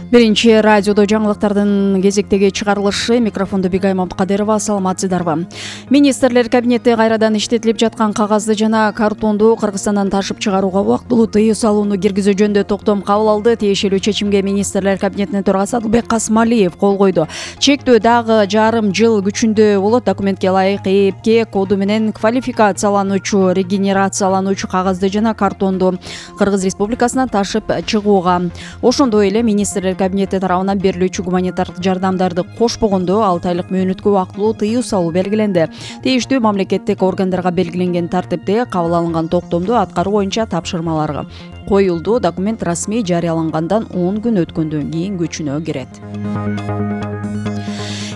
Биринчи радиодо жаңылыктардын кезектеги чыгарылышы. Микрофондо Бигай Мамткадырова. Саламатсыздарбы? Министрлер кабинети кайрадан иштетилип жаткан кагазды жана картонду Кыргызстандан ташып чыгарууга убактылуу тыюу салууну киргизүү жөнүндө токтом кабыл алды. Тиешелүү чечимге министрлер кабинетинин төрагасы Адылбек Касмалиев кол койду. Чектөө дагы жарым жыл күчүндө болот. Документке ылайык ЭПК коду менен квалификациялануучу, регенерациялануучу кагазды жана картонду Кыргыз Республикасынан ташып чыгууга. Ошондой эле министрлер кабинети тарабынан берилүүчү гуманитардык жардамдарды кошпогондо 6 айлык мөөнөткө убактылуу тыюу салуу белгиленди. Тийиштүү мамлекеттик органдарга белгиленген тартипте кабыл алынган токтомду аткаруу боюнча тапшырмалар коюлду. Документ расмий жарыялангандан 10 күн өткөндөн кийин күчүнө кирет.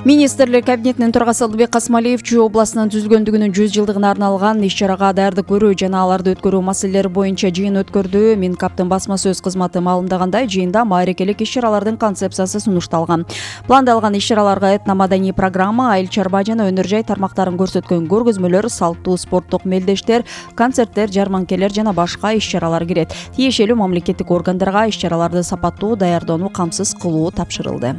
Министрлер кабинетинин төрагасы Адылбек Касмалиев Чүй областынын түзүлгөндүгүнүн 100 жылдыгына арналган иш-чарага даярдык көрүү жана аларды өткөрүү маселелери боюнча жыйын өткөрдү. Минкаптын басма сөз кызматы маалымдагандай, жыйында маарекелик иш-чаралардын концепциясы сунушталган. Пландалган иш-чараларга этномаданий программа, айыл чарба жана өнөр жай тармактарын көрсөткөн көргөзмөлөр, салттуу спорттук мелдештер, концерттер, жарманкелер жана башка иш-чаралар кирет. Тиешелүү мамлекеттик органдарга иш-чараларды сапаттуу даярдоону камсыз кылуу тапшырылды.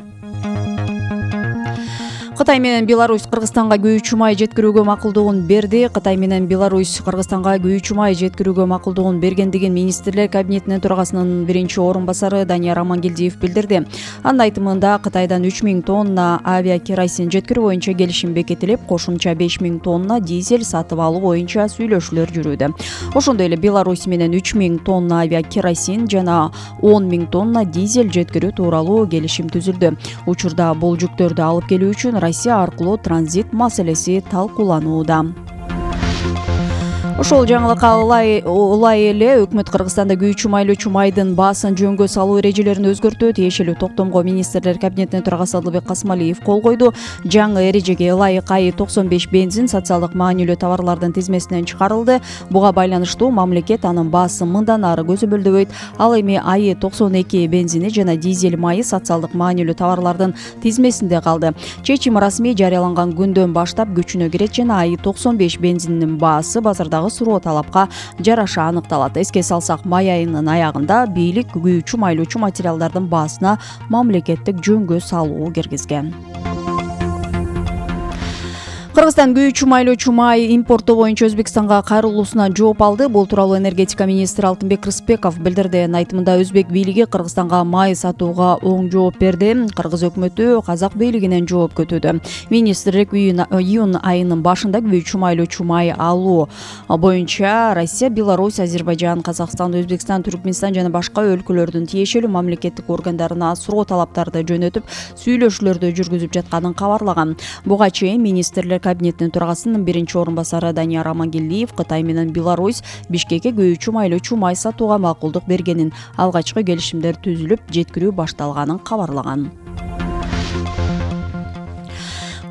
Кытай менен Беларусь Кыргызстанга күйүүчү май жеткирүүгө макулдугун берди. Кытай менен Беларусь Кыргызстанга күйүүчү май жеткирүүгө макулдугун бергендигин министрлер кабинетинин төрагасынын биринчи орун басары Данияр Амангелдиев билдирди. Анын айтымында Кытайдан 3000 тонна авиакеросин жеткирүү боюнча келишим бекитилип, кошумча 5000 тонна дизель сатып алуу боюнча сүйлөшүүлөр жүрүүдө. Ошондой эле Беларусь менен 3000 тонна авиакеросин жана 10000 тонна дизель жеткирүү тууралуу келишим түзүлдү. Учурда бул жүктөрдү алып келүү үчүн Россия аркылуу транзит маселеси талкууланууда. Ошол жаңылыкка улай эле өкмөт Кыргызстанда күйүүчү майлоочу майдын баасын жөнгө салуу эрежелерин өзгөртүү. Тиешелүү токтомго министрлер кабинетинин төрагасы Адылбек Касмалиев кол койду. Жаңы эрежеге ылайык АИ-95 бензин социалдык маанилүү товарлардын тизмесинен чыгарылды. Буга байланыштуу мамлекет анын баасын мындан ары көзөмөлдөбөйт. Ал эми АИ-92 бензини жана дизель майы социалдык маанилүү товарлардын тизмесинде калды. Чечим расмий жарыяланган күндөн баштап күчүнө кирет жана АИ-95 бензининин баасы базардагы суроо талапка жараша аныкталат. Эске салсак, май айынын аягында бийлик күйүүчү майлоочу материалдардын баасына мамлекеттик жөнгө салуу киргизген. Кыргызстан күйүүчү майлоочу май импорту боюнча Өзбекстанга кайрылуусуна жооп алды. Бул тууралуу энергетика министри Алтынбек Рыспеков билдирди. Айтымында Өзбек бийлиги Кыргызстанга май сатууга оң жооп берди. Кыргыз өкмөтү Казак бийлигинен жооп күтүүдө. Министрлик июнь айынын башында күйүүчү майлоочу май алуу боюнча Россия, Беларусь, Азербайжан, Казакстан, Өзбекстан, Түркмөнстан жана башка өлкөлөрдүн тиешелүү мамлекеттик органдарына суроо талаптарды жөнөтүп, сүйлөшүүлөрдү жүргүзүп жатканын кабарлаган. Буга чейин министрлер кабинетинин төрагасынын биринчи орун басары Данияр Амангелдиев Кытай менен Беларусь Бишкекке күйүүчү майлоочу май сатууга макулдук бергенин, алгачкы келишимдер түзүлүп, жеткирүү башталганын кабарлаган.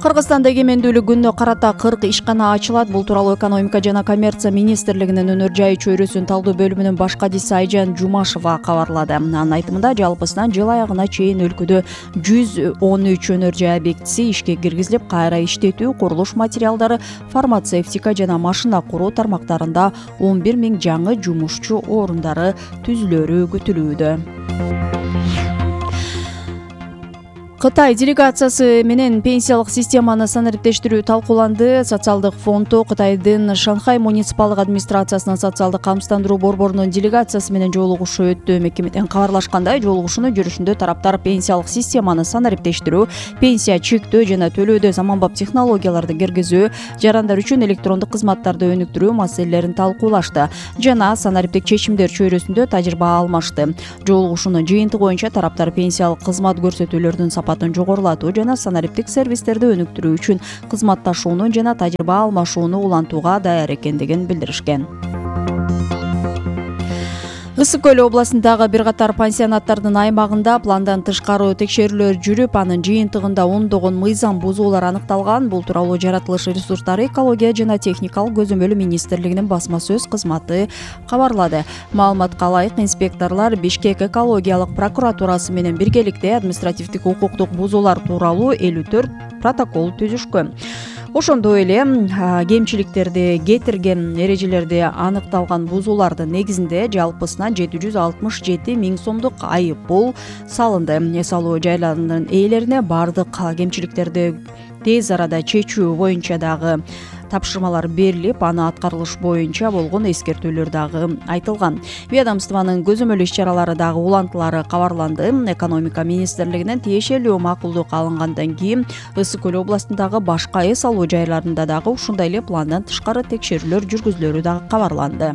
Кыргызстанда эгемендүүлүк күнүнө карата 40 ишкана ачылат. Бул тууралуу экономика жана коммерция министрлигинин өнөр жай чөйрөсүн талдоо бөлүмүнүн баш кадиси Айжан Жумашева кабарлады. Анын айтымында, жалпысынан жыл аягына чейин өлкөдө 113 өнөр жай объектиси ишке киргизилип, кайра иштетүү, курулуш материалдары, фармацевтика жана машина куруу тармактарында 11 000 жаңы жумушчу орундары түзүлөрү күтүлүүдө. Кытай делегациясы менен пенсиялык системаны санариптештирүү талкууланды. Социалдык фондо Кытайдын Шанхай муниципалдык администрациясынын социалдык камсыздандыруу борборунун делегациясы менен жолугушуу өттү. Мекемеден кабарлашкандай, жолугушуунун жүрүшүндө тараптар пенсиялык системаны санариптештирүү, пенсия чектөө жана төлөөдө заманбап технологияларды киргизүү, жарандар үчүн электрондук кызматтарды өнүктүрүү маселелерин талкуулашты жана санариптик чечимдер чөйрөсүндө тажрыйба алмашты. Жолугушуунун жыйынтыгы боюнча тараптар пенсиялык кызмат көрсөтүүлөрдүн жогорулатуу жана санариптик сервистерди өнүктүрүү үчүн кызматташууну жана тажрыйба алмашууну улантууга даяр экендигин билдиришкен. Ысык Көл областындагы бир катар пансионаттардын аймагында пландан тышкары текшерүүлөр жүрүп, анын жыйынтыгында ондогон мыйзам бузуулар аныкталган. Бул тууралуу жаратылыш ресурстары, экология жана техникалык көзөмөлү министрлигинин басма сөз кызматы кабарлады. Маалыматка ылайык, инспекторлор Бишкек экологиялык прокуратурасы менен биргеликте административдик укуктук бузуулар тууралуу 54 протокол түзүшкөн. Ошондой эле кемчиликтерди кетирген эрежелерди аныкталган бузуулардын негизинде жалпысынан 767 миң сомдук айыппул салынды. Эс алуу жайларынын ээлерине бардык кемчиликтерди тез арада чечүү боюнча дагы тапшырмалар берилип, аны аткарылыш боюнча болгон эскертүүлөр дагы айтылган. Ведомствонун көзөмөл иш-чаралары дагы улантылары кабарланды. Экономика министрлигинен тиешелүү макулдук алынгандан кийин Ысык көл областындагы башка эс алуу жайларында дагы ушундай эле пландан тышкары текшерүүлөр жүргүзүлөрү дагы кабарланды.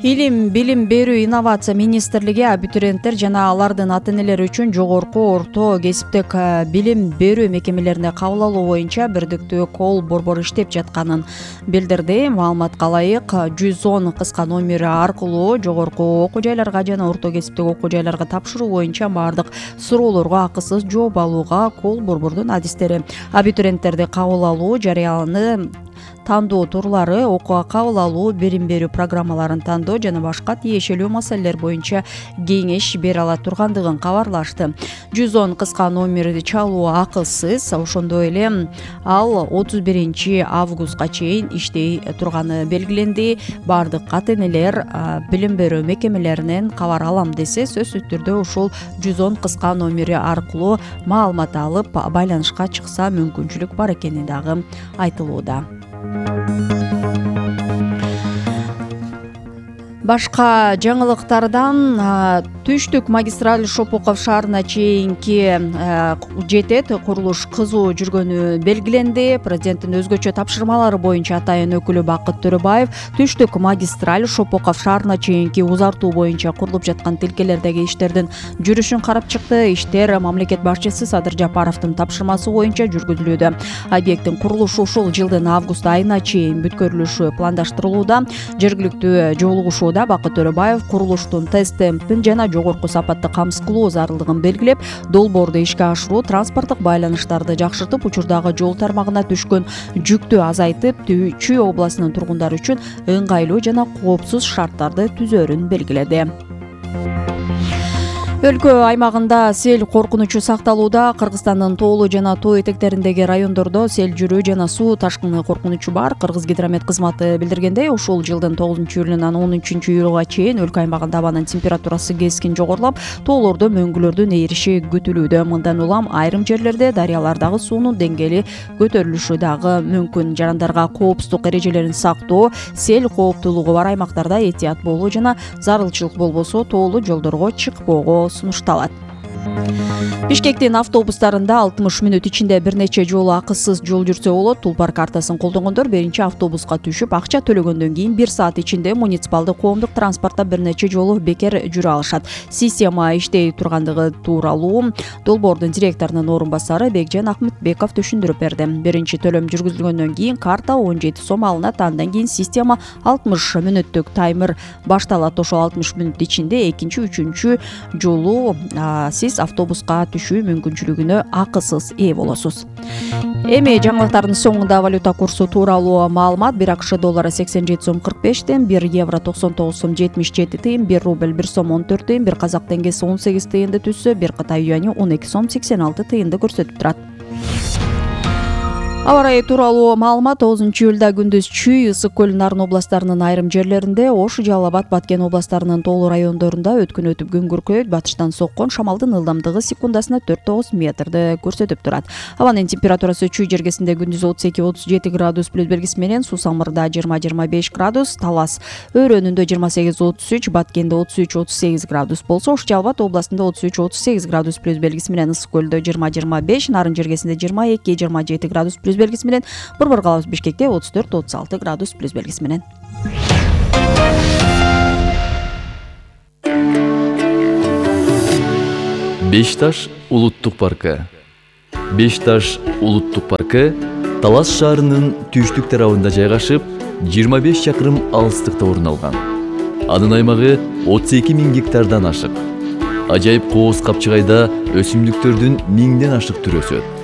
Илим, билим берүү, инновация министрлиги абитуриенттер жана алардын ата-энелери үчүн жогорку орто кесиптик билим берүү мекемелерине кабыл алуу боюнча бирдиктүү колл борбор иштеп жатканын билдирди. Маалыматка ылайык 110 кыска номери аркылуу жогорку окуу жайларга жана орто кесиптик окуу жайларга тапшыруу боюнча бардык суроолорго акысыз жооп алууга колл борбордун адистери абитуриенттерди кабыл алуу жарыяны тандоо турлары, окууга кабыл алуу, билим берүү программаларын тандоо жана башка тиешелүү маселелер боюнча кеңеш бере ала тургандыгын кабарлашты. 110 кыска номерди чалуу акысыз, ошондой эле ал 31 августка чейин иштей турганы белгиленди. Бардык ата-энелер билим берүү мекемелеринен кабар алам десе, сөзсүз түрдө ушул 110 кыска номери аркылуу маалымат алып, байланышка чыкса мүмкүнчүлүк бар экени дагы айтылууда. Башка жаңылыктардан Түштүк магистраль Шопоков шаарына чейинки жетет курулуш кызуу жүргөнү белгиленди. Президенттин өзгөчө тапшырмалары боюнча атайын өкүлү Бакыт Төрөбаев Түштүк магистраль Шопоков шаарына чейинки узартуу боюнча курулуп жаткан тилкелердеги иштердин жүрүшүн карап чыкты. Иштер мамлекет башчысы Садыр Жапаровдун тапшырмасы боюнча жүргүзүлүүдө. Объекттин курулушу ушул жылдын август айына чейин бүткөрүлүшү пландаштырылууда. Жергиликтүү жолугушууда Бакыт Төрөбаев курулуштун тест темпин жана жогорку сапатты камсыз кылуу зарылдыгын белгилеп, долбоорду ишке ашыруу транспорттук байланыштарды жакшыртып, учурдагы жол тармагына түшкөн жүктү азайтып, Чүй областынын тургундары үчүн ыңгайлуу жана коопсуз шарттарды түзөөрүн белгиледи. Өлкө аймагында сел коркунучу сакталууда. Кыргызстандын тоолуу жана тоо этектериндеги райондордо сел жүрүү жана суу ташкыны коркунучу бар. Кыргыз гидромет кызматы билдиргендей, ушул жылдын 9-июлунан 10-июлга чейин өлкө аймагында абанын температурасы кескин жогорулап, тоолордо мөңгүлөрдүн ээриши күтүлүүдө. Мындан улам айрым жерлерде дарыялардагы суунун деңгээли көтөрүлүшү дагы мүмкүн. Жарандарга коопсуздук эрежелерин сактоо, сел кооптуулугу бар аймактарда этият болуу жана зарылчылык болбосо тоолуу жолдорго чыкпоого сунушталат. Бишкектин автобустарында 60 мүнөт ичинде бир нече жолу акысыз жол жүрсө болот. Тулпар картасын колдонгондор биринчи автобуска түшүп, акча төлөгөндөн кийин 1 саат ичинде муниципалдык коомдук транспортто бир нече жолу бекер жүрө алышат. Система иштей тургандыгы тууралуу долбоордун директорунун орун басары Бекжан Акмытбеков түшүндүрүп берди. Биринчи төлөм жүргүзүлгөндөн кийин карта 17 сом алынат. Андан кийин система 60 мүнөттүк таймер башталат. Ошол 60 мүнөт ичинде экинчи, үчүнчү жолу сиз автобуска түшүү мүмкүнчүлүгүнө акысыз ээ болосуз. Эми жаңылыктардын соңунда валюта курсу тууралуу маалымат. 1 АКШ доллары 87 сом 45 тыйын, 1 евро 99 сом 77 тыйын, 1 рубль 1 сом 14 тыйын, 1 казак теңгеси 18 тыйынды түзсө, 1 Кытай юаню 12 сом 86 тыйынды көрсөтүп турат. Аба ырайы тууралуу маалымат. 9-июлда күндүз Чүй, Ысык көл, Нарын областарынын айрым жерлеринде, Ош, Жалал Абад, Баткен областарынын тоолуу райондорунда өткүн өтүп күн күркөйт. Батыштан соккон шамалдын ылдамдыгы секундасына 4-9 метрди көрсөтүп турат. Абанын температурасы Чүй жергесинде күндүз 32-37 градус плюс белгиси менен, Сусамырда 20-25 градус, Талас өрөөнүндө 28-33, Баткенде 33-38 градус болсо, Ош, Жалал Абад областында 33-38 градус плюс белгиси менен, Ысык көлдө 20-25, Нарын жергесинде 22-27 градус плюс белгиси менен, Борбор калабыз Бишкекте 34-36 градус плюс белгиси менен. Бешташ улуттук паркы. Бешташ улуттук паркы Талас шаарынын түштүк тарабында жайгашып, 25 чакырым алыстыкта орун алган. Анын аймагы 32 000 гектардан ашык. Ажайып кооз капчыгайда өсүмдүктөрдүн 1000ден ашык түрү өсөт.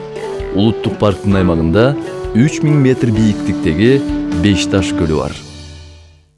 Улуттук парктын аймагында 3000 метр бийиктиктеги Бешташ көлү бар.